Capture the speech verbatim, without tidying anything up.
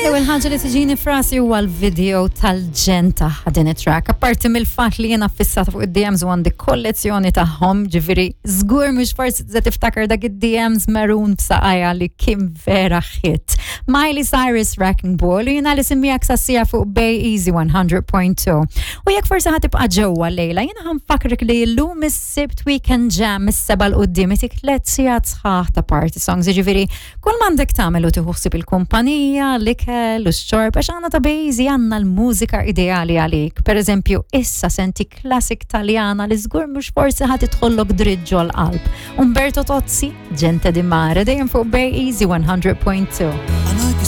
L-ewwel ħaġa li tiġini f'rasi huwa l-video tal-ġenn ta' din it-track. Apparti mill-fatt li jiena fissata fuq id-D Ms u għandi kollezzjoni tagħhom, ġifieri żgur mhux forsi se tiftakar dak id-D Ms maroon b'saqajja li kien vera hit. Miley Cyrus, Wrecking Ball, u jiena li semmiegħek sassija fuq Bay Easy one hundred point two. U jekk forsi ħa tibqa' ġewwa lejla, jiena ħa nfakkrek li llum is-Sibt Weekend Jam mis-sebgħa 'l quddiem itik tliet sigħat sħaħ ta' party songs, ġifieri kull m'għandek tagħmel u tieħu ħsieb il-kumpanija, l-ikel u x-xorb, għax għandna ta' Bejzi għandna l-mużika ideali għalik. Per eżempju, issa senti classic Taljana li żgur mhux forsi ħa tidħollok dritt ġol-qalb. Umberto Tozzi, Gente di Mare, dejjem fuq Bay Easy one hundred point two. A noi che